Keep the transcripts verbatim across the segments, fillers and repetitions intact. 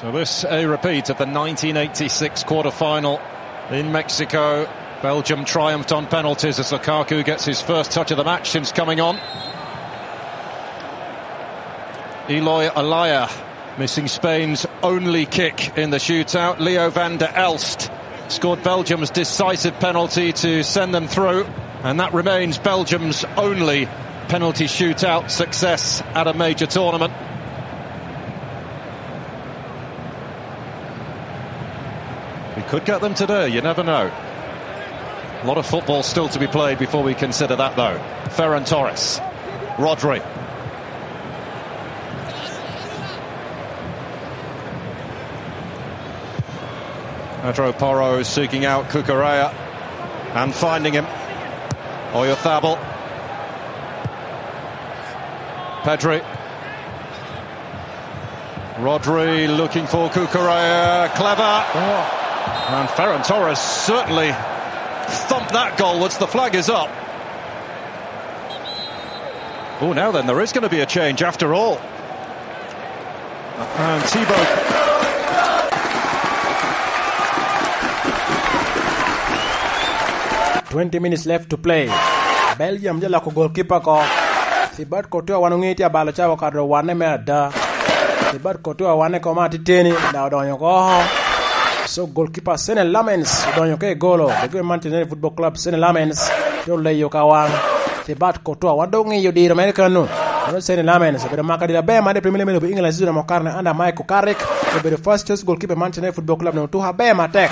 Now this a repeat of the nineteen eighty-six quarter-final in Mexico. Belgium triumphed on penalties as Lukaku gets his first touch of the match since coming on. Eloy Olaya missing Spain's only kick in the shootout. Leo van der Elst scored Belgium's decisive penalty to send them through, and that remains Belgium's only penalty shootout success at a major tournament. We could get them today, you never know. A lot of football still to be played before we consider that, though. Ferran Torres. Rodri. Pedro Porro seeking out Cucurella and finding him. Oyarzabal. Pedri. Rodri looking for Cucurella. Clever. And Ferran Torres certainly thumped that goal once the flag is up. Oh, now then, there is gonna be a change after all. And Thibaut. Twenty minutes left to play. Belgium je loko goalkeeper ko. Thibaut Courtois wan oŋe tye abalo ca okato wane me ada. Thibaut Courtois wane koma atiteni, da odonyo oko. So goalkeeper Senne Lammens odonyo ka i golo. Goalkeeper Manchester United Football Club, Senne Lammens, te oleyo ka wan. Thibaut Courtois, wan dok ŋiyo diro mere kano. Mano Senne Lammens obedo maka diro aber made Premier League me lobo England season amo karne under Michael Carrick. Obedo first choice goalkeeper Manchester United Football Club, ne otuko aber matek.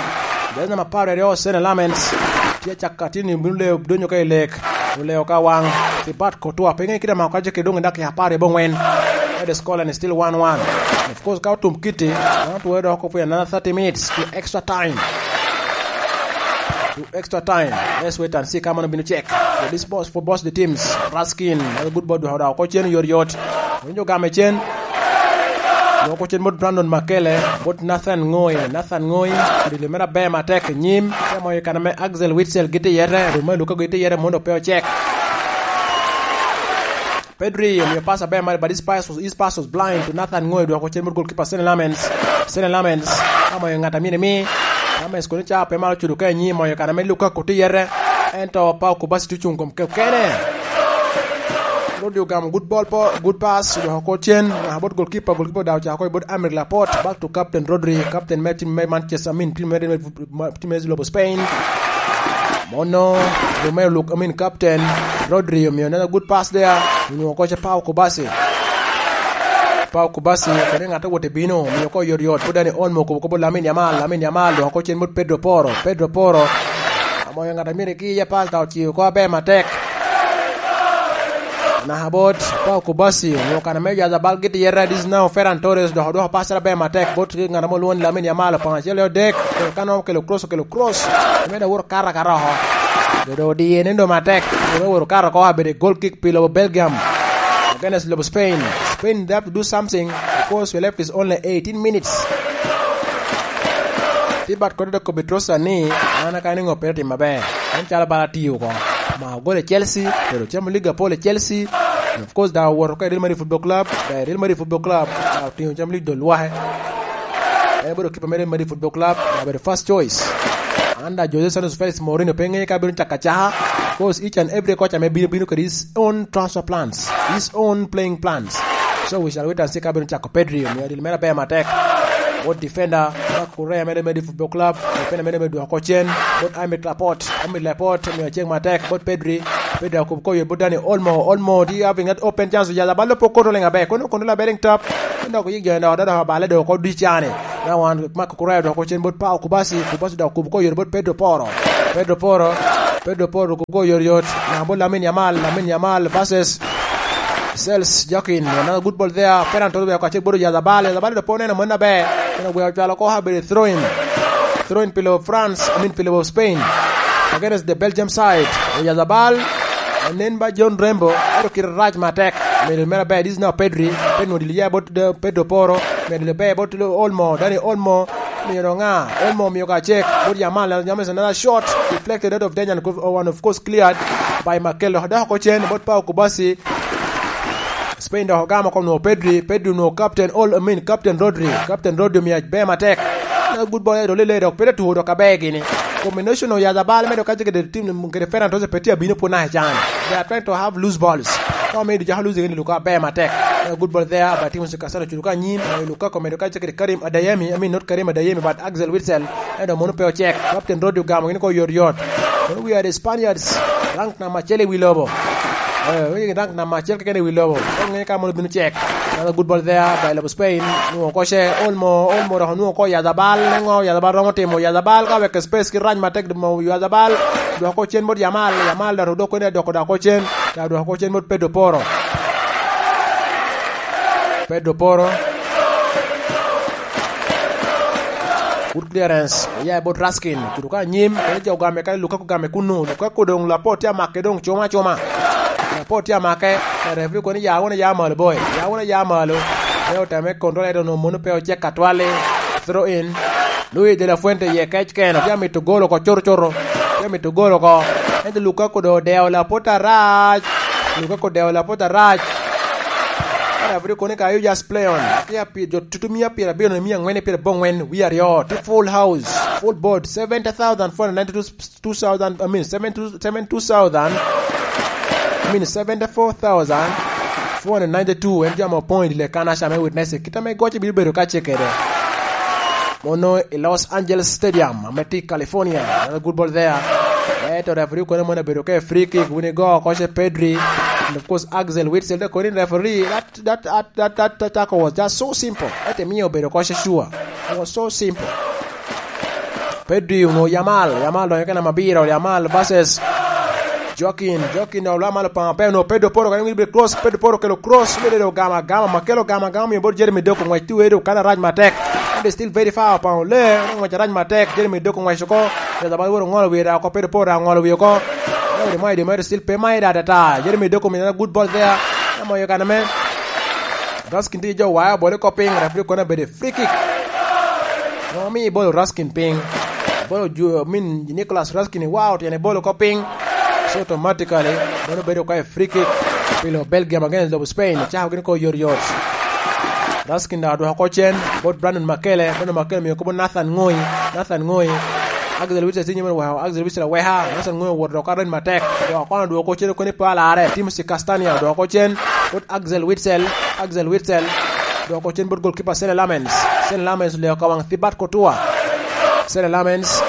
Jezi namba apar aryo, Senne Lammens. Tye caka tye ni bino leyo donyo ka i lek. Oleyo ka wan. Thibaut Courtois, pe ŋe kite mako kaje ke dong i dakika apar i bongwen. Ede scoreline is still one one. Of course, ka otum kiti, mano otwoyo dok oko for another thirty minutes to extra time. To extra time. Let's wait and see ka mano bino cek. For this boss, for boss the teams, Raskin, another good ball, dwoko dok oko cen yot yot. Winjo game cen. Dwoko cen bot Brandon Makele, bot Nathan Ngoi. Nathan Ngoi, dilo mere aber matek i nyim. Ka moyo i kana me Axel Witsel giti yete, Romelu ka giti yete, mondo pe ocek. Pedri omio pass aber mare, but his pass was, his pass was blind to Nathan Ngoi, dwoko cen bot goalkeeper Senne Lammens. Senne Lammens, ka moyo ŋat a myero imi. Lammens kono ca pe maro cudo ka inyi, moyo kana me Lukaku tye yete. Ento Pau Kubasi tye ocung kom ke-, kene. Rodri ogamo good ball po, good pass, odwoko oko cen, ŋaka bot goalkeeper, goalkeeper daŋ ocako i bot Aymeric Laporte, back to captain Rodri, captain me team me Manchester, I mean, team me, me, team me lobo Spain. Mono, Romelu Luk-, I mean, captain Rodri omio another good pass there. Onwoŋo koca Pau Kubasi. Pau Kubasi, kadi ŋat owot i bino, omio oko yot yot. Pwod Dani Olmo okobo kobo Lamine Yamal, Lamine Yamal, dok oko cen bot Pedro Porro, Pedro Porro. Amoyo ŋat a myero ki iye pass, dok ociyo oko aber matek. Naka bot Pau Kubasi, onwoŋo kana me Oyarzabal giti yete, this is now Ferran Torres, dok odwoko pass aber matek, bot ŋat amo lwongo ni Lamine Yamal, opon acel i odek, ka nongo okelo cross, okelo cross. Omedo awoto kato akato oko. Dodo odiye ni do matek. Dodo oworo kato oko, abedo i goal kick pi lobo Belgium against lobo Spain. Spain, they have to do something because we left is only eighteen minutes. Tibat kodi dok kobbi Trossard ni, an aka ni ŋo pe otim maber. En calo bala tiyo oko. Ma ogolo i Chelsea, pero Champions League apol i Chelsea. And of course, daŋ owoto oko i Real Madrid Football Club. Daŋ i Real Madrid Football Club, daŋ otingo Champions League dol lwake. En bedo kipa me Real Madrid Football Club, obedo first choice. Under Jose Santos Felix, Mourinho pe ŋeyo ka bino cako acaka. Because each and every coach ame bino, bino kede his own transfer plans, his own playing plans. So we shall wait and see ka bino cako Pedri, omio adil mere aber matek. Bot defender, ma Correa mere me Football Club, defender mere me dwoko cen, bot Aymeric Laporte, Aymeric Laporte, omio cek matek, bot Pedri, Pedri akubo koyo, bot Dani Olmo, Olmo, do you having that open chance, Oyarzabal pok koto liŋ aber, kono kono labeling top, dok yik jo dok, dok abale dok oko dicane. Now one, Marco Correa dok ocen bot Pau Kubasi, Kubasi dok kubo koyere bot Pedro Porro. Pedro Porro, Pedro Porro kubo koyere yot. Na bot Lamine Yamal, Lamine Yamal versus Sels Jokin. Another good ball there. Ferran Torres weko acel bot Oyarzabal. Oyarzabal dok pe oneno mano aber. Eno weko ocwalo oko, abedo throw in. Throw in pi lobo France, I mean pi lobo Spain. Against the Belgium side. Oyarzabal, nen ba John Rembo, ento kite rac matek. Middle mere aber, this is now Pedri. Pedri odilo ya bot, uh, Pedro Porro. Middle aber bot Olmo, Dani Olmo. Miyo ŋa? Olmo miyo ka cek. Bot Yamal, Yamal is another shot. Deflected out of danger and, oh, and of course cleared by Makello. Dok oko cen, bot Pau Kubasi. Spain dok ogamo oko nwo Pedri, Pedri nwo Captain Ol-, I mean, Captain Rodri, Captain Rodri omio aber matek. Na good ball, ero lele dok pe te tuko dok aber gini. Combination of Yazabal medo kacce kede team kede Ferran Torres pe tye abino pwod naka can. They are trying to have loose balls. Ka omiyo Dujako losing ni Luka aber matek. Na good ball there, but Timothy Castagne ocuto ka anyim, eh, Lukaku medo kacce kede Karim Adeyemi, I mean, not Karim Adeyemi, but Axel Witsel. Ento mono pe ocek. Captain Rodri ogamo gini ko yot yot. Mono we are the Spaniards. Rank namba acel i wi lobo. Eh, wi rank namba acel keken i wi lobo. Kong ŋe ka mono bino cek. Another good ball there by lobo Spain. Nwo ko ce Olmo, Olmo dok nwo ko Yazabal. Nengo Yazabal romo timo. Yazabal ka wek space ki rac matek mo Yazabal. Dok ko cen bot Yamal. Yamal dok dok ko ne dok dok ko cen. Ya dok ko cen bot Pedro Poro. Pedro Poro. Good clearance. Oya i bot Raskin. Ocuto ka anyim. Kene jo ogame kene Lukaku ogame kunu. Lukaku doŋ lapor tye amake doŋ cuma cuma. Lapor tye amake. Referee kono ya wunu ya malo boy. Ya wunu ya malo. Ne oteme control ento onwoŋo mono pe ocek atwali. Throw in. Luis de la Fuente iye kec keno. Tye amito gol oko cuto cuto. Tye amito gol oko. Ento Lukaku doŋ odeo lapor arac. Lukaku odeo lapor arac. Ka referee kono ka you just play on. Tye api-, jo tutu mia pyerabiro, mia aŋwen, pyerabongwen, wie aryo. Tye full house, full board, seventy thousand four hundred ninety-two, two thousand, I mean, seventy, seventy-two thousand, I mean, seventy-four thousand four hundred ninety-two. En jo ame opoŋ i dye kan aca me witness. Kit ame goc bino bedo ka ce kede. Mono i Los Angeles Stadium, ame tye i California. Another good ball there. Eto referee kono mono obedo ka free kick, wini go oko ce Pedri. And of course, Axel Witsel, the Korean referee. That, that, that, that, that, that tackle was just so simple. Ete miyo obedo ko sure. It was so simple. Pedri onwo Yamal, Yamal donyo kena mabiro, Yamal versus Joaquin, Joaquin dok lwa malo paŋo pe onwo Pedro Poro, kadi wic cross, Pedro Poro kelo cross, bede do gama gama, ma kelo gama gama, miyo bot Jeremy Doku ngwec tuwe do kana rac matek. And they still very far paŋo le, ngwec rac matek, Jeremy Doku ngwec oko, Yazabal woro ngolo wiye da oko, Pedro Poro da ngolo wiye oko. Jeremy Doku still pe mai da da ta, Jeremy Doku mina good ball there. Amo yo kana me. Raskin tye jo waya bole ko piny, referee kono bedo free kick. Omi bolo Raskin piny. Bolo ju-, I mean, Nicolas Raskin, wow, tyene bolo ko piny. So automatically, mano bedo ka free kick. Pilo Belgium against lobo Spain, cako gini ko yot yot. Raskin da odwoko ko cen, bot Brandon Makele, Brandon Makele miyo kobo Nathan Ngoi, Nathan Ngoi. Axel Witsel sinyo mene weko, Axel Witsel aweka, Nathan Ngoi owoto dok areny matek. Jo kono odwoko cen okoni pe alarre, Timothy Castagna odwoko cen, bot Axel Witsel, Axel Witsel. Dwoko cen bot goalkeeper Sene Lamens. Sene Lamens oleo ka waŋ Thibat Kotua. Sene Lamens.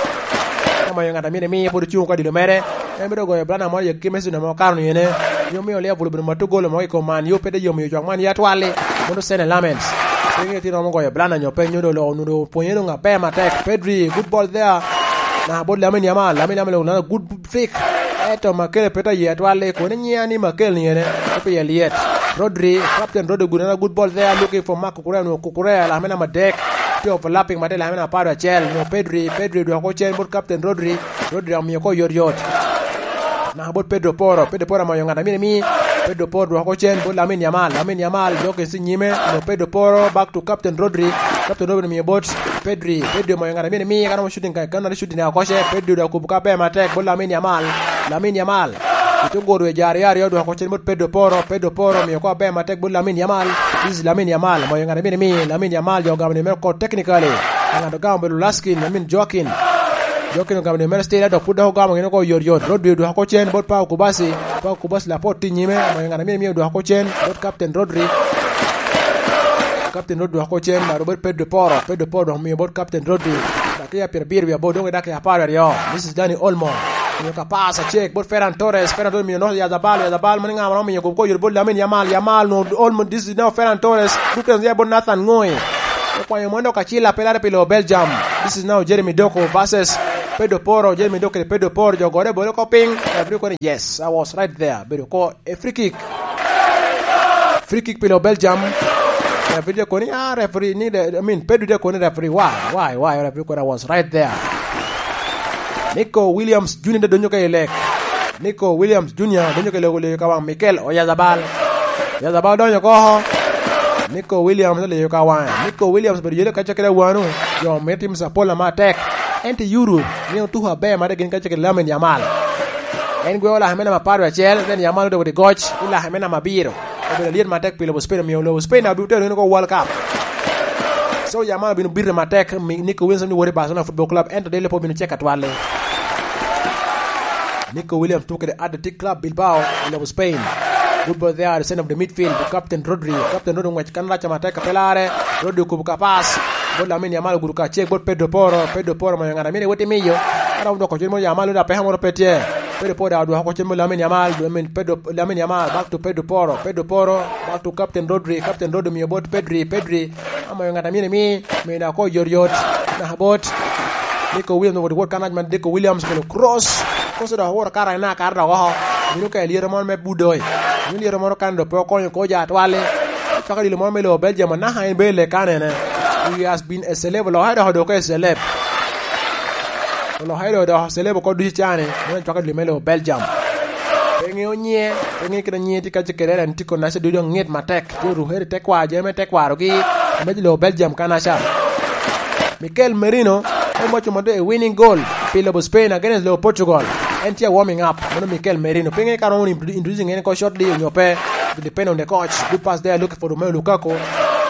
Ka mayo ŋat a myero imi pwod ocung ka dilo mere. En bedo goyo blana mo yek ki Messi namo karo ni ene. Yo miyo Liverpool obedo mato golo mo i kom man. Yo pe de yomiyo jwak man ya twali. Mono Sene Lamens. Pe ŋe tino mo goyo blana nyo pe nyo do lo nudo pwonye do ŋa pe matek. Pedri, good ball there. Na bot Lamine Yamal. Lamine Yamal olana good flick. Eto Makele pe ta ye atwal, koni nyiya ni Makele ni ene, pe ye liet. Rodri, Captain Rodri guna na good ball there, looking for Marc Cucurella, no Cucurella, lamina madek. Tye overlapping mate, lamina apar acel, no Pedri, Pedri dwoko cen bot Captain Rodri, Rodri omiyo ko yot yot. Na bot Pedro Poro, Pedro Poro amayo ŋat amini mi, Pedro Poro dwoko cen bot Lamine Yamal, Lamine Yamal, joke si nyime, no Pedro Poro, back to Captain Rodri, Captain Rodri omiyo bot Pedri, Pedri omayo ŋat a myero imi, ka romo shooting ka, ka nongo shooting oko ce, Pedri dok okubo ka ber matek, bot Lamine Yamal, Lamine Yamal. Ito goro e jare aryo, dwoko cen bot Pedro Poro, Pedro Poro omiyo ko aber matek bot Lamine Yamal. This is Lamine Yamal, omayo ŋat a myero imi, Lamine Yamal, jo ogamo ni mere ko technically. Ŋat ogamo bedo Laskin, I mean Joaquin. Joaquin ogamo ni mere still, dok pud dok ogamo gin oko yot yot. Rodri dwoko cen bot Pau Kubasi, Pau Kubasi lapor tye nyime, omayo ŋat a myero imi dwoko cen bot Captain Rodri. Captain Rodri dwoko cen, ma Robert Pedro Poro. Pedro Poro dok omiyo bot Captain Rodri. Dakika pyerabiro wiye aboro, dong i dakika apar aryo. This is Dani Olmo. Omiyo ka pass acek bot Ferran Torres. Ferran Torres omiyo Noah Yazabal. Yazabal mani ŋama omiyo gob koyot bot Lamine Yamal. Yamal no Olmo, this is now Ferran Torres. Dutens ya bot Nathan Ngoi. Okwanyo mon dok acil apelare pi lo Belgium. This is now Jeremy Doku versus Pedro Poro. Jeremy Doku kede Pedro Poro. Jo gore bolo ko piny. Every kone, yes, I was right there. Bedo ko a free kick. Free kick pilo Belgium. Referee de koni, ah, referee ni de, I mean, Pedro de koni referee. Why? Why? Why? Referee koni, I was right there. Nico Williams Junior de donyo ka i lek. Nico Williams Junior donyo ka i lek, olego ka waŋ Mikel Oyarzabal. Oyarzabal donyo ko. Nico Williams olego ka waŋe. Nico Williams bedo yele kaca kede awano. Jo me tim sapola matek. Ento Yuru ni otuko aber made gin kaca kede Lamine Yamal. En gweo lake me namba apar acel, then Yamal odoko i goc, i lake me namba abiro. Obedo alyet matek pi lobo Spain, omio lobo Spain daŋ obino tero en oko World Cup. So, Yamal obino bito matek, mi Nico Williams ni wot i Barcelona Football Club, ento delle pe obino cek atwal-li. Nico Williams tuko kede Athletic Club Bilbao i lobo Spain. Good ball there at the center of the midfield to Captain Rodri. Captain Rodri ongwec kan rac matek, pe larre. Rodri okubo ka pass bot Lamine Yamal, ogudo ka cek bot Pedro Porro. Pedro Porro omayo ŋat a myero ewot i miyo. Ka romo dwoko cen mo Yamal, onyo apeka moro pe tye. Pedro Porro daŋ odwoko oko cen mo Lamine Yamal, I mean, Pedro, Lamine Yamal, back to Pedro Porro. Pedro Porro, back to Captain Rodri. Captain Rodri omio bot Pedri. Pedri, amayo ŋat a myero imi, miyo daŋ oko oyotyot. Naka bot Nico Williams, wot, wot kan rac man, Nico Williams okelo cross. Cross dok oworo kara ena kara dok oko. Obino ka i lyeto moro me Budoi. Obino lyeto moro kan dok pe okonyo ko jo atwal-li. Cwako dilo moro me lobo Belgium, anaka en bene lekanene. He has been a celeb, olokke dok odoko a celeb. Olokke dok odoko celeb oko ducu can-ni, meno cwako dilo me lobo Belgium. Pe ŋeo nyiŋe, pe ŋeo kit a nyiŋe tye kacel kede, en tye kodi aca, dul dok ŋit matek. Tye orukere i tekwaro, jami me tekwarogi, me lobo Belgium kanaca. Mikel Merino, en moco modo i winning goal pi lobo Spain against lobo Portugal. En tye a warming up, mano Mikel Merino. Pe ŋeo ka romo introdu-, introducing en oko shortly onyo pe, depend on the coach. Good pass there, looking for Romelu Lukaku.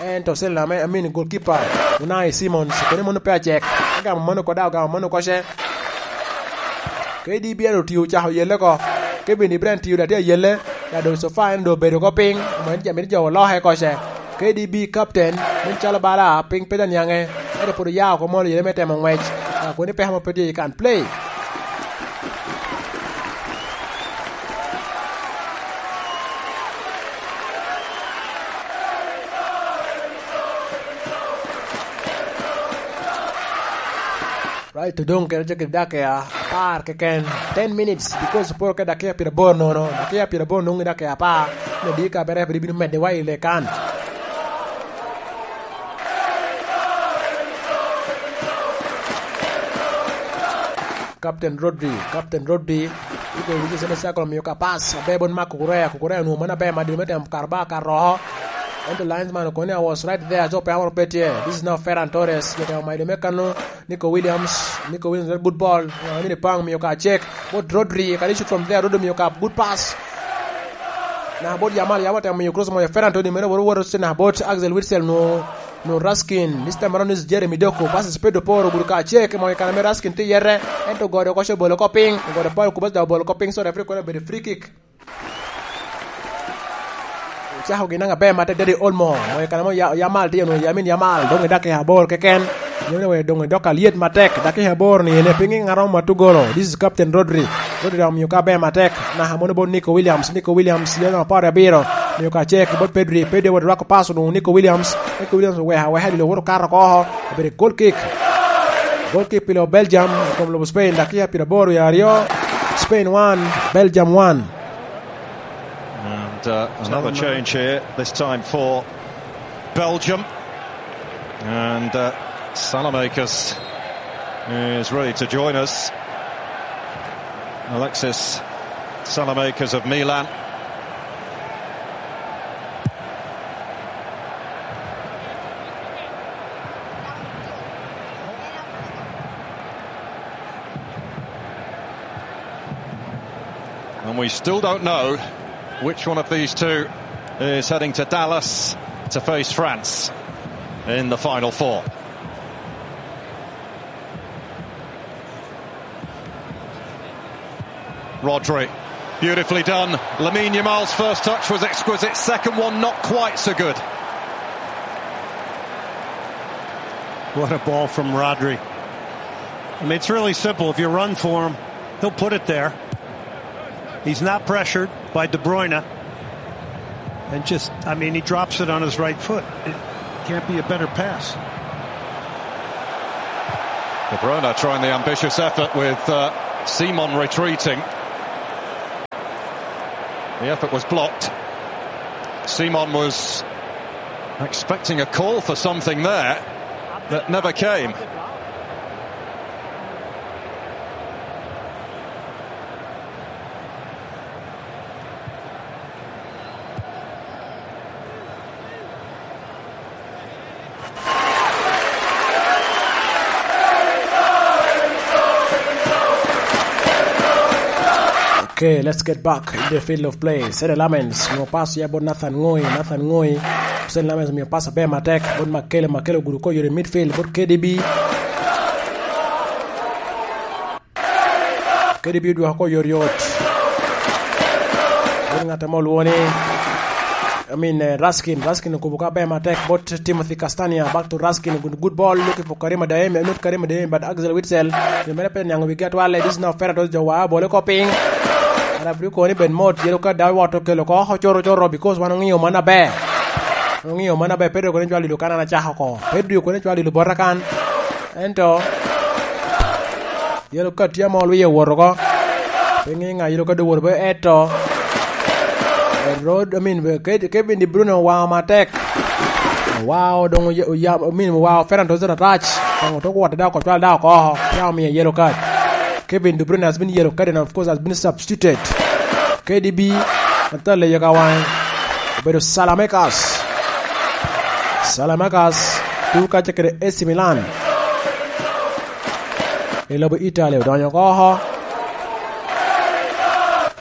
Ento center ame, I mean, goalkeeper, Unai Simons, kene mono pe acek. Agamo mano oko daŋ, agamo mano oko ce. K D B en otio ocako yelle oko. Kevin De Bruyne tio daŋ tye ayelle. Ya doŋ sofa en doŋ obedo oko piny. Omany jami ni jo oloke oko ce. K D B captain, nen calo bala piny pe daniaŋe. Ento pwod oya oko mono yelle me temo ŋwec. Ah, kwene peko mo pe tye, you can play. Right, to doŋ kede tye kede dakika apar keken, ten minutes, because poro ke dakika pyeraboro nono, dakika pyeraboro nono i dakika apar, me di ka bere pwod ibino medde wa i lekan. Captain Rodri, Captain Rodri, iko wigi sene circle, omio ka pass aber bot Marc Cucurella, Cucurella onwoŋo mano aber madino me temo kato bal kato oko. Ento linesman okono ni, "I was right there, so pe amoro pe tye." This is now Ferran Torres, jo temo mayo me kano Nico Williams, Nico Williams, good ball, uh, mini pang, omio ka check bot Rodri, can he shoot from there, Rodri omio ka good pass. Na bot Yamal, Yamal temo miyo cross moyo Ferran Torres, mene woro woro se na bot Axel Witsel, no, no Raskin, this time around is Jeremy Doku, passes Pedro Porro, ogudo ka check, moyo kana me Raskin tye yete, ento ogodo oko ce obolo oko piny, ogodo Paul Kubas da obolo oko piny, so referee kono obedo free kick. Ocako gin aber matek, Dani Olmo, moyo kana mo Ya-, Yamal tye, onwoŋo Lamine Yamal, doŋ i dakika aboro keken. Yene wek doŋ idok alyet matek, dakika aboro ni ene, piny ŋat romo matugolo. This is Captain Rodri. Rodri omio ka aber matek, naka mono bot Nico Williams. Nico Williams, yene apar abiro, omio ka check bot Pedri. Pedri wot rwako pass onwoŋo Nico Williams. Nico Williams oweko aweka, dilo woto kato oko oko. Obedo goal kick. Goal kick pi lobo Belgium, i kom lobo Spain, dakika pyeraboro i aryo. Spain one, Belgium one. And, uh, another change here, this time for Belgium. And, uh, Saelemaekers is ready to join us. Alexis Saelemaekers of Milan. And we still don't know which one of these two is heading to Dallas to face France in the Final Four. Rodri, beautifully done. Lamine Yamal's first touch was exquisite. Second one, not quite so good. What a ball from Rodri. I mean, it's really simple. If you run for him, he'll put it there. He's not pressured by De Bruyne. And just, I mean, he drops it on his right foot. It can't be a better pass. De Bruyne trying the ambitious effort with, uh, Simon retreating. The effort was blocked. Simon was expecting a call for something there that never came. Okay, let's get back in the field of play. Sene Lamens, mo pass ya bot Nathan Ngoi, Nathan Ngoi. Sene Lamens, mo pass aber matek, bot Makele, Makele ogudo ko yore midfield, bot K D B. K D B odwoko ko yot yot. Bot ng'at ame olwongo ni, I mean, eh, Raskin, Raskin okubo ka aber matek, bot Timothy Castagna, back to Raskin, good, good ball, looking for Karim Adeyemi, not Karim Adeyemi, but Axel Witsel. Yo mere pe niaŋ wigi atwal, this is now fair to jo wa, bole ko piny. Ara bri koni ben mot, yero ka daw wato kelo ko, ko choro choro, because wan ong'iyo man aber. Ong'iyo man aber, Pedro koni chwal ilu kan an achako ko. Pedro koni chwal ilu bota kan. Ento, yero ka tye amo olwiye owoto ko. Pe ŋe ŋa yero ka dowoto be eto. Rod, I mean, be Ke-, Kevin De Bruyne owaŋo matek. Owaŋo doŋ oya-, oya-, I mean, owaŋo Ferran Torres atach. Doŋ oto kwot da oko cwal da oko. Ya omiye yellow card. Kevin De Bruyne has been yellow card and of course has been substituted. K D B, matale yo ka waŋe. Obedo Saelemaekers. Saelemaekers, tuko kacce kede A C Milan. I lobo Italy odonyo oko oko.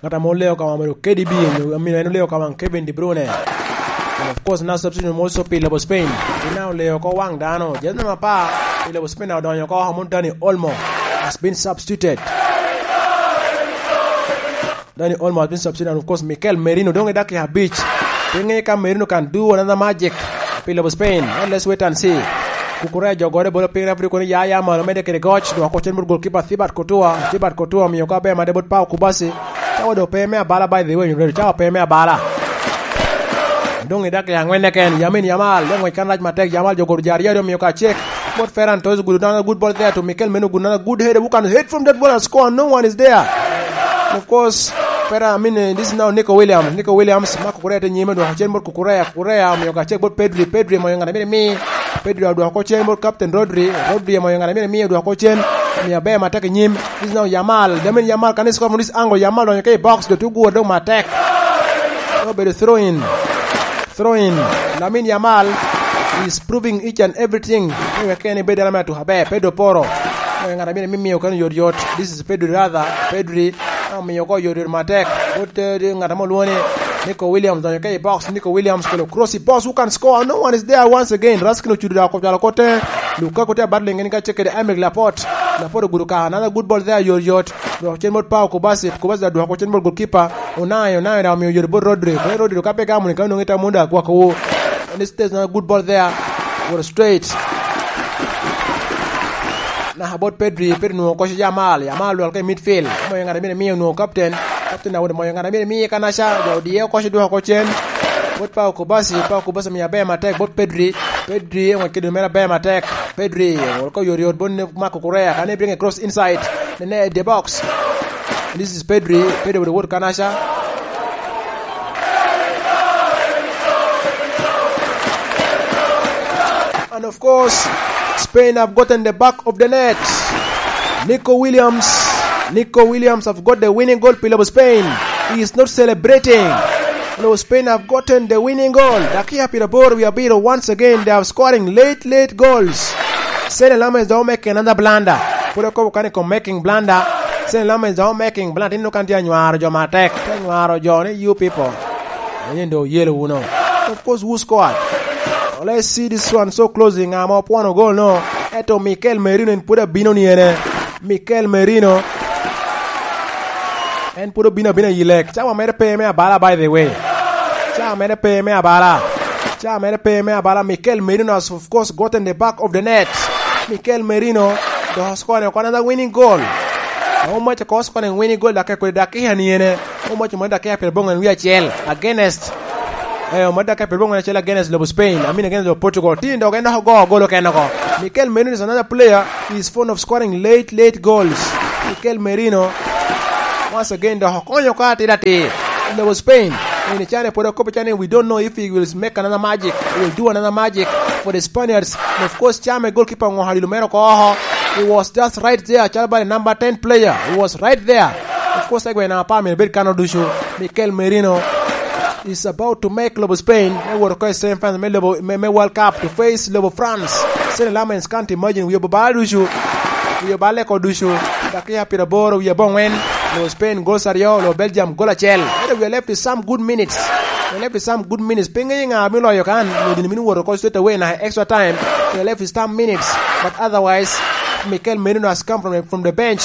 Ŋat ame oleo ka waŋ obedo K D B, nyo, I mean, en oleo ka waŋ Kevin De Bruyne. And of course, na substitute mo so pi lobo Spain. Ina oleo oko waŋ dano. Jazz number apar pi lobo Spain odonyo oko oko, mon Dani Olmo has been substituted. Dani Olmo has been substituted, and of course, Mikel Merino, doŋ i dakika abic. Pe ŋe ka Merino can do another magic pi lobo Spain. Well, let's wait and see. Kukureya jo gore bolo piny, referee kono ya, ya malo, mede kede goc, dwoko cen bot goalkeeper Thibaut Courtois. Thibaut Courtois omiyo ka ber made bot Pau Kubasi. Cawa do pe me abala, by the way, cawa pe me abala. Doŋ i dakika aŋwen keken, Lamine Yamal, le ŋwec kan rac matek, Yamal jo goro jari yari omiyo ka cek. Bot Ferran Torres, good, another good ball there to Mikel Merino, good, another good header, who can head from that ball and score, no one is there. Of course, Ferran, I mean, eh, this is now Nico Williams. Nico Williams, Marc Cucurella te nyime, dwoko cen bot Cucurella, Cucurella omiyo ka cek bot Pedri, Pedri omoyo ŋat a myero mi. Pedri odwoko cen bot Captain Rodri, Rodri omoyo ŋat a myero mi, odwoko cen, omiyo aber matek i nyim. This is now Yamal, Lamine Yamal, can he score from this angle? Yamal donyo ka i box, dok te ogure doŋ matek. Obedo throw in. Throw in. Lamine Yamal is proving each and everything. Anyway, kene ibed dano me atuko aber. Pedro Porro. Anyway, ŋat a myero mi miyo kano yot yot. This is Pedri rather. Pedri, ah, omiyo ko yot yot matek. Bot, eh, ŋat ame olwongo ni Nico Williams, donyo ka i box. Nico Williams kelo cross i box. Who can score? No one is there once again. Raskin ocudo da oko cwalo kote. Lukaku te battle ngeŋ ka cek kede Aymeric Laporte. Laporte ogudo ka. Another good ball there, yot yot. Dwoko cen bot Pau Kubasi. Kubasi da dwoko cen bot goalkeeper. Unai, Unai da omiyo yore bot Rodri. Kone Rodri ka pe gamo ni ka nongo ita munda agwakowu. And this is not a good ball there. What a straight. Naka bot Pedri, Pedri nwoŋo koco Yamal. Yamal lwal ka i midfield. Omoyo ŋat a myero miyo nwoŋo captain. Captain Daudi omoyo ŋat a myero miye kanaca. Jo odiye koco dwoko cen. Bot Pau Kubasi, Pau Kubasi omiyo aber matek bot Pedri. Pedri oŋwec kede mere aber matek. Pedri, wol ko yot yot bot ne Marc Cucurella. Can he bring a cross inside? Nene at the box. This is Pedri. Pedri with the word kanaca. And of course, Spain have gotten the back of the net. Nico Williams. Nico Williams have got the winning goal, Pillar of Spain. He is not celebrating. No, Spain have gotten the winning goal. Dakia Pirabor, we are beat once again. They are scoring late, late goals. Sene Lammens are making another blunder. Put a couple kind of making blunder. Sene Lammens are making blunder. Ino kan dia nywaro jo matek. Te nywaro jo ni you people. And you know, yellow, you know. Of course, who scored? Let's see this one so closely. Ŋa ma opwono gol no? Eto Mikel Merino en pwod abino ni ene. Mikel Merino. En pwod obino abina i lek. Cawa mere pe me abala, by the way. Cawa mere pe me abala. Cawa mere pe me abala. Mikel Merino has, of course, gotten the back of the net. Mikel Merino, the scoring another winning goal. How much ko scoring winning goal, dakika kwede dakika ni ene. How much mo dakika pyerbongwen wie acel. Against. Eh, mo dakika pyerbongwen acel against lobo Spain. I mean against lobo Portugal. Tin dok en dok ogo gol okene oko. Mikel Merino is another player. He is fond of scoring late, late goals. Mikel Merino, once again, dok okonyo ka atir atir. Lobo Spain. In China pwod okobo China, we don't know if he will make another magic. He will do another magic for the Spaniards. And of course, Chama goalkeeper ŋo halilo mero ko oho. He was just right there. Chalo bale number ten player. He was right there. Of course, egwe na apar myero bed kano ducu. Mikel Merino is about to make lobo Spain me wot oko i semi final me lobo, me, me World Cup to face lobo France. Sene Lammens can't imagine, wiye obalo ducu. Wiye obale ko ducu. Dakika pyerboro, wiye abongwen. Lobo Spain goals aryo, lobo Belgium goal acel. Ento we are left with some good minutes. We are left with some good minutes. Pe ŋeyo ŋa bino loyo kan, nyo gin bino woto oko straight away naka extra time. We are left with some minutes. But otherwise, Mikel Merino has come from the, from the bench.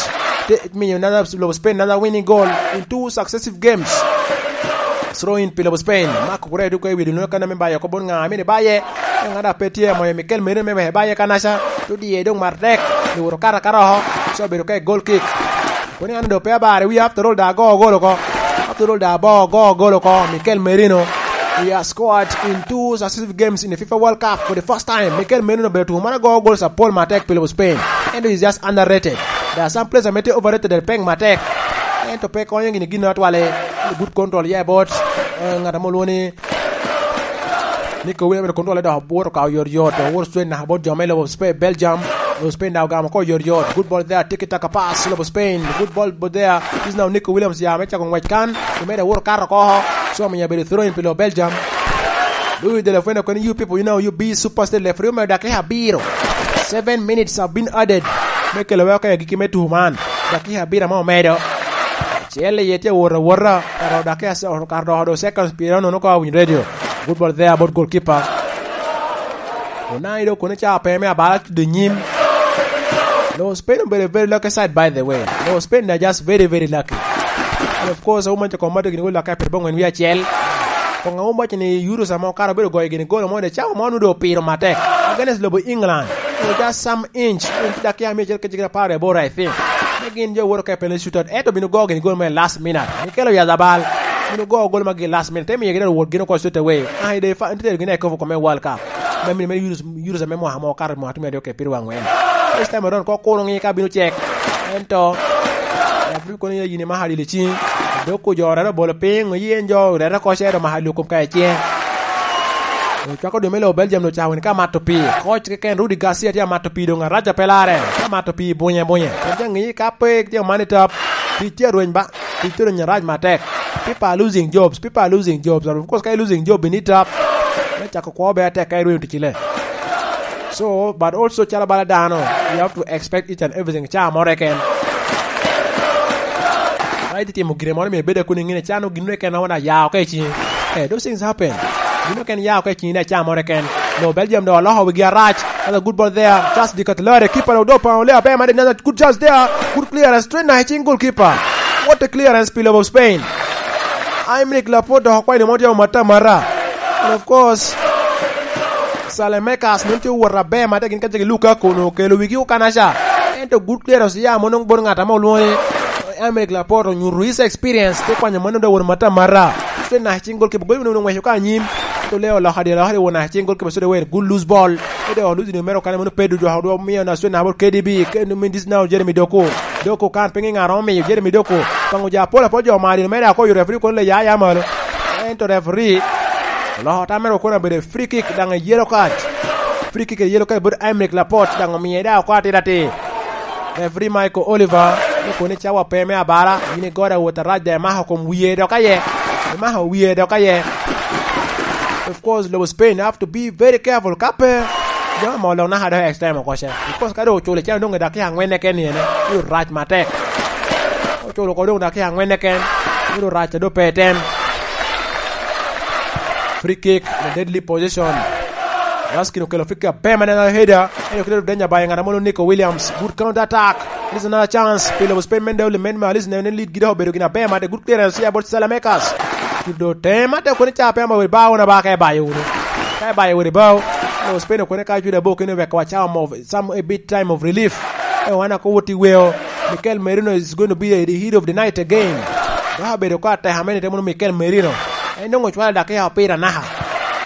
Te-, miyo another, lobo Spain another winning goal in two successive games. Throw in pi lobo Spain. Marco Correa dok i wi dul nwoŋo kan ame bayo oko bot ŋa, amini baye. Ŋat a pe tye amoyo Mikel Merino me wek baye kanaca. Dok diye dong mar tek. Dok oto kato akata oko. So obedo ka i goal kick. Kono an do pe abare wi, after all da ago gol oko. After all da ago gol oko. Mikel Merino. He has scored in two successive games in the FIFA World Cup for the first time. Mikel Merino obedo tuko man ago goals apol matek pi lobo Spain. Ento is just underrated. There are some players ame tye overrated and pek matek. Ento pe konyo gini gin atwale. Good control, yeah, but, eh, ŋat ame olwoŋo ni Nico Williams control dok owoto ka oyot yot. Owoto straight naka bot jo me lobo Spain, Belgium. Lobo Spain daŋ ogamo ko oyot yot. Good ball there, tiki taka pass, lobo Spain. Good ball, but there is now Nico Williams ya me cako ngwec kan. Omeda owoto kato oko. So omiyo abedo throw in pi lobo Belgium. Louis de la Fuente, when you people, you know, you be super state referee, omedo dakika abiro. Seven minutes have been added. Me kelo weko i agikki me tuko man. Dakika abiro ame omedo. Acel iye tye awot awota, kato dakika se-, kato dok seconds pyeraryo nono ka owinyo radio. Good ball there about goalkeeper. Onai do kono ca pe me abala tudo nyim. No, Spain obedo very lucky side, by the way. No, Spain are just very, very lucky. And of course, awuma ca koma dogini welo ka pir bongwen wi acel. Kong awuma ca ni Euro samo kara obedo goyo gini golo mo de cawa mo nudo piro matek. Against lobo England. It was just some inch. Inch dakika mia acel kece kede apar aboro, I think. Ne gin jo woro ka penalty shootout. Eto bino go gini gol me last minute. Mikel Oyarzabal. Bino go gol magi last minute. Te miyo gin wot gin oko straight away. Ah, ide fa, nte gin e kofu kome World Cup. Me mini me Euro, Euro me mwa mo kar mwa tume dok e piro angwen. This time around, ko kuro ngi ka bino cek. Ento, Afrika kono yini ma hali lici. Dok ojorere obolo piny, oyen jo rere ko cero ma hali okum ka ecen. Ocwako dwe me lobo Belgium no cawa ni ka mato pii. Koc keken Rudi Garcia tye amato pii dong araja pe lare. Ka mato pii bunye bunye. Ento ngi ka pe tye man i top. Tic tye rweny ba. Tic tye rweny arac matek. People are losing jobs. People are losing jobs. And of course, ka i losing job in i top. Me cako kwo be atek ka irweny ticile. So, but also calo bala dano, you have to expect each and everything. Ca more ken. Ka iti timo gire moro myero ibed akuni ngine cano gin ken wan aya oko i cingi. Eh, those things happen. Gin ken ya oko i cingi ne ca more ken. No, Belgium do oloko wigi arac. That's a good ball there. Just the Catelare. Keeper do pa ole abe made another good chance there. Good clearance. Straight na i cing goalkeeper. What a clearance, Pillow of Spain. Aymeric Laporte dok okwayo ni mo tye omata mata. And of course, Saelemaekers nongo tye owot aber mata gin ka cegi Lukaku onongo okelo wigi okanaca. Ento good clearance ya mo nongo bot ngat ame olwoŋo ni Aymeric Laporte onyuto his experience, te kwanyo mano dok wot mata mata. Te na cing goalkeeper, goalkeeper onongo ngweco ka anyim. Te ole oloko dyere, oloko dyere won na cing goalkeeper, so the way good loose ball. Te dok lose ni mere okane mono Pedro dok dok miyo na Australia na bot K D B, K-, I mean, this now Jeremy Doku. Doku kan pinge ŋat omiyo Jeremy Doku. Paŋo ja pol apol jo mari mere ako yo referee kono le ya ya malo. Ento referee oloko tam mere okona bedo free kick daŋ e yellow card. Free kick e yellow card bot Aymeric Laporte daŋ omiye da oko atira atir. Referee Michael Oliver, ni koni cawa pe me abala, yin igode awot arac da imako kom wiye dok aye. Imako wiye dok aye. Of course, lobo Spain have to be very careful. Ka pe, jo amo lok naka dok extra time oko ce. Because ka dong oculo icen dong i dakika angwen keken ni ene, biro rac matek. Oculo oko dong dakika angwen keken, biro rac a dong pe tem. Free kick in a deadly position. Raskin okelo free kick aber ma neno header. En okelo danger by ngat a mono Nico Williams. Good counter attack. This is another chance. Pilo Spain men dawli men ma Alice ne lead gida obedo gina aber ma de good clearance ya bot Saelemaekers. Tudo tema te kone ca pe ma weri ba wona ba ka ibayo wunu. Ka ibayo weri bao. No, Spain okone ka cuda bo kene wek wa cawa mo some a bit time of relief. E wan ako woti weo. Mikel Merino is going to be the heat of the night again. Ba bedo ka te hamene te mono Mikel Merino. En dong ocwalo dakika opira naka.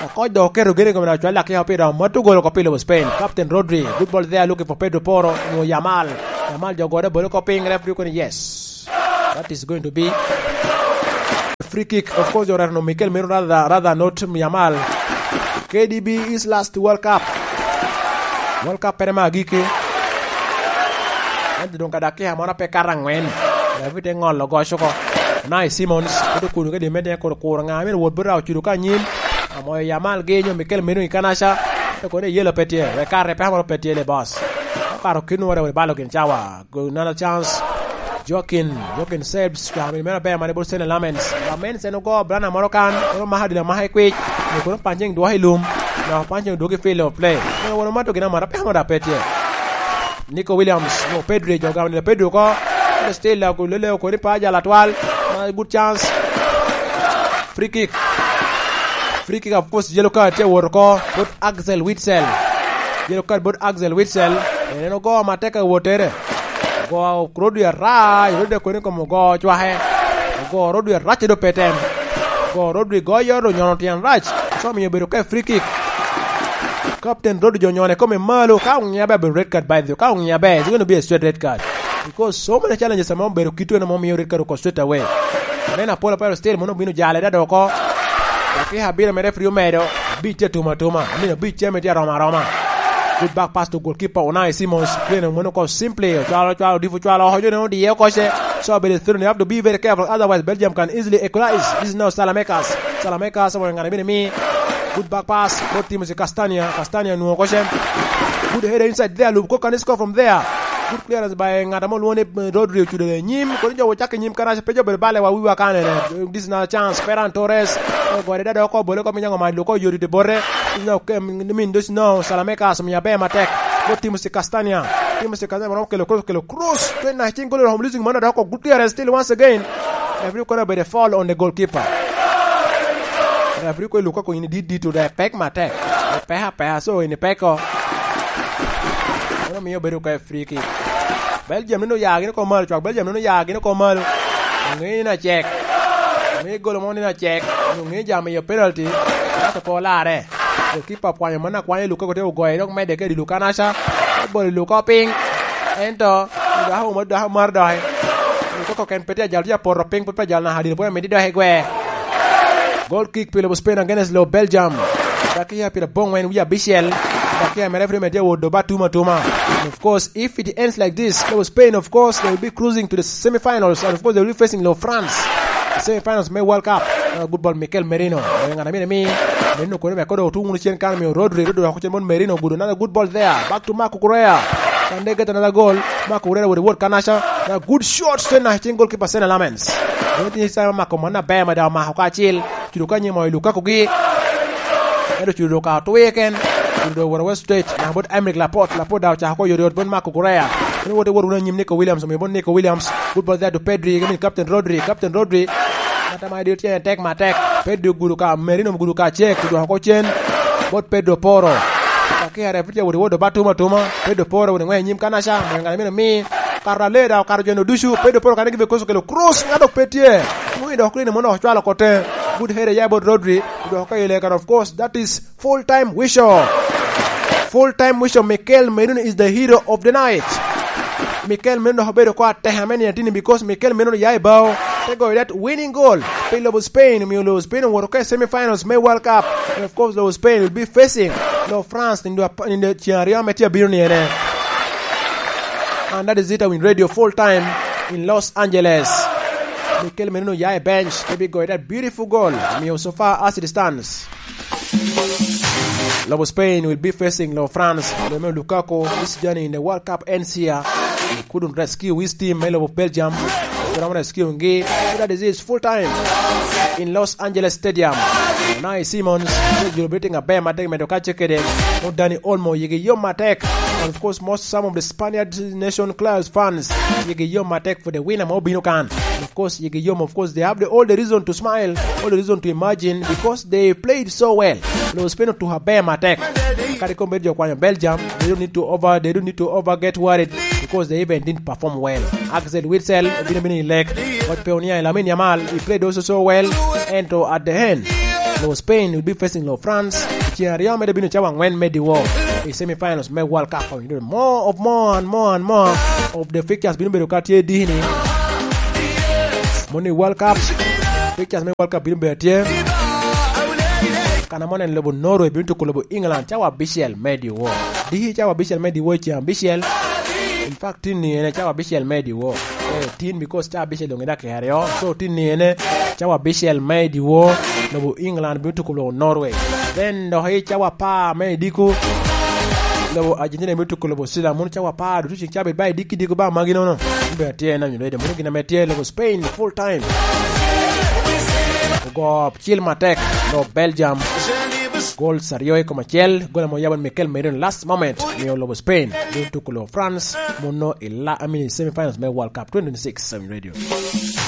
Okoc dok oketo gene i kome dok ocwalo dakika opira, omato gol oko pi lobo Spain. Captain Rodri, good ball there, looking for Pedro Porro, onwoŋo Yamal. Yamal jo gode bolo oko piny, referee kono yes. That is going to be a free kick. Of course, jo retono Mikel Merino rather, rather not Yamal. K D B is last World Cup. World Cup pere me agikki. Ento doŋ ka dakika mono pe kato angwen, David te ŋolo goc oko. Unai Simons, kuto kuno kede mete kuro kuro ŋa, myero wot bota ocudo ka anyim. Amoyo Yamal gi nyo Mikel Merino i kanaca. Ento kono iyelo pe tye, wek kare pe amoro pe tye le boss. Okato kino wara wari balo gin cawa. Go another chance. Joaquin, Joaquin Sebs, cwako mini mere aber mane bot Sene Lamens. Lamens en ogo blana moro kan, kono maka dilo amaka i kwic, ni kono pancing dwoko i lum, dok pancing odwogo i field of play. Kono wano mato gin amata, peko mada pe tye. Nico Williams, no, Pedri, jo gamo nino Pedri oko. Still, la, lele oko ni pa jala twal. Ma good chance. Free kick. Free kick, of course, yellow card tye wot oko. Bot Axel Witsel. Yellow card bot Axel Witsel. En en ogo matek awottere. Ogo Rodri arac, Rodri koni kom ogo cwake. Ogo Rodri arac do pe tem. Ogo Rodri go yoro nyono tyen rac. So miyo bedo ka free kick. Captain Rodri jo nyone kome malo. Ka ongia be bedo red card by the way. Ka ongia be, it's gonna be a straight red card. Because so many challenges ame obedo kit twene mo miyo red card oko straight away. Men apol apol still mono obino jale dada oko. Dakika abiro mere free omedo. Abic tye atuma atuma. I mean, abic tye ame tye aroma aroma. Good back pass to goalkeeper Unai Simons. Pien mono oko simply. Ocwalo, ocwalo, difu ocwalo. Ojo ne odiye oko ce. So, but you have to be very careful. Otherwise, Belgium can easily equalize. This is now Salamekas. Salamekas, someone gonna be me. Good back pass. Bot Timothy Castagna. Castagna nuo oko ce. Good header inside there. Lub ko kan score from there. Good clearance by ng'at amo lwongo ni, eh, Rodri ocudo i nyim. Kodi jo wacak i nyim karac pe jo bedo bale wa wiwa kanene. This is another chance. Ferran Torres. Ogore dada oko bole ko minyango ma loko yodi de bote. This is now, um, I mean, this is now Salamekas miya ber matek. Go Timothy Castagna. Timothy Castagna mano kelo cross, kelo cross. Twen na cing golo home losing mano doko good clearance still once again. Every corner by the foul on the goalkeeper. Referee ko Lukaku in did did to the pek matek. Peha peha so in peko. Mano miyo bedo ka free kick. Belgium nino ya gin ko malo, cwak Belgium nino ya gin ko malo. Ngi na cek. Ngi golo mo nino cek. Ngi jam yo penalty. Kato ko lare. Goalkeeper kwanyo mana kwanya Lukaku te ogoye dok mede ke di Lukanasha. Bolo Lukaku piny. Ento, dako mo dako mar dohe. Lukaku ken pe tye ajal tye aporo piny, pe ajal na hadil, pe medi dohe gwe. Goal kick pi lobo Spain against lobo Belgium. Dakiya pyerabongwen wie abicel. Dakiya me referee me tye owodo ba tuma tuma. And of course, if it ends like this, lobo Spain, of course, they will be cruising to the semifinals. And of course, they will be facing lobo France. Semifinals me World Cup. Uh, good ball, Mikel Merino. Oyo ngana mine mi. Merino kone me kodo otu wunu cen kan miyo Rodri. Rodri wako cen mon Merino. Good, another good ball there. Back to Marco Correa. Can they get another goal? Marco Correa with the word Kanasha. A good shot. Cen na cen goalkeeper Sena Lamens. Mene tinye sa mako mona bema da mako kacil. Cudo ka nyimo i Lukaku gi. Ento cudo ka otwe ken. Cudo woro West State. Na bot Emerick Laporte. Laporte da ochako ko yot yot bot Marco Correa. Mene wote woro wunu anyim Nico Williams. Omiyo bot Nico Williams. Good ball there to Pedri. I mean, Captain Rodri. Captain Rodri. Ngata ma idio tye tek matek. Pedro ogudo ka, Merino ogudo ka cek, odwoko oko cen. Bot Pedro Poro. Kakere, Pedro owoto owoto ba tuma tuma. Pedro Poro owoto ngwe i nyim Kanaca. Mwenga mino mi. Karo alee da, karo jono ducu. Pedro Poro kane gibe koso kelo cross. Ngado pe tye. Mwi dok kine mono ocwalo kote. Good header ya bot Rodri. Odwoko ka ile kan, of course, that is full time Wisho. Full time Wisho, Mikel Merino is the hero of the night. Mikel Merino dok obedo ko ateka me nino tini because Mikel Merino ya i bao. Te goyo that winning goal. Pe lobo Spain, omiyo lobo Spain owoto ka i semifinals me World Cup. And of course, lobo Spain will be facing lobo France nindo ap-, nindo ceng aryo me tye abino ni ene. And that is it, I win radio full time in Los Angeles. Mikel Merino ya i bench, te bi goyo that beautiful goal. Omiyo so far as it stands. Lobo Spain will be facing Lobo France. Leme Lukaku, this journey in the World Cup ends here. He couldn't rescue his team, me Lobo Belgium. Couldn't rescue ngi. That is it, full time in Los Angeles Stadium. Unai Simons, you're beating a bear, matek medo kache kede. No Dani Olmo, yigi yo matek. And of course, most, some of the Spaniard nation clubs fans, yigi yo matek for the winner mo bino kan. Of course, yigi yom, of course, they have the, all the reason to smile, all the reason to imagine because they played so well. Lo Spain otuko aber matek. Kadi kom bedo jo kwanyo Belgium, they don't need to over, they don't need to over get worried because they even didn't perform well. Axel Witsel, bino bino i lek. But Peonia Lamine Yamal, he played also so well. Ento at the end, lo Spain will be facing lo France. Ceng aryo mere bino cawa angwen me diwo i semifinals me World Cup. More of more and more and more of the fixtures bino bedo ka tye dini. Moni World Cup, fixtures me World Cup bino bedo tye. Kana mo nen lobo Norway bino tuko lobo England cawa abicel me diwo. Diki cawa abicel me diwo i ceng abicel. In fact, tin ni ene cawa abicel me diwo. Eh, tin because cawa abicel dong i dakika aryo. So, tin ni ene cawa abicel me diwo. Lobo England bino tuko lobo Norway. Then, dok i cawa apar me idiko, Lobo Argentina me tuko lobo Sila, mono cawa apar ducu ceng cabit ba idiki diko ba magi nono. Mbe atye na nyule de mono gin ame tye lobo Spain full time. Ogo cil matek lo Belgium. Gol saryo i kom acel, gol amo yabo Mikel Merino last moment, mio lobo Spain. Dun tuko lo France, mono i la amini semifinals me World Cup twenty twenty-six, Seven Radio.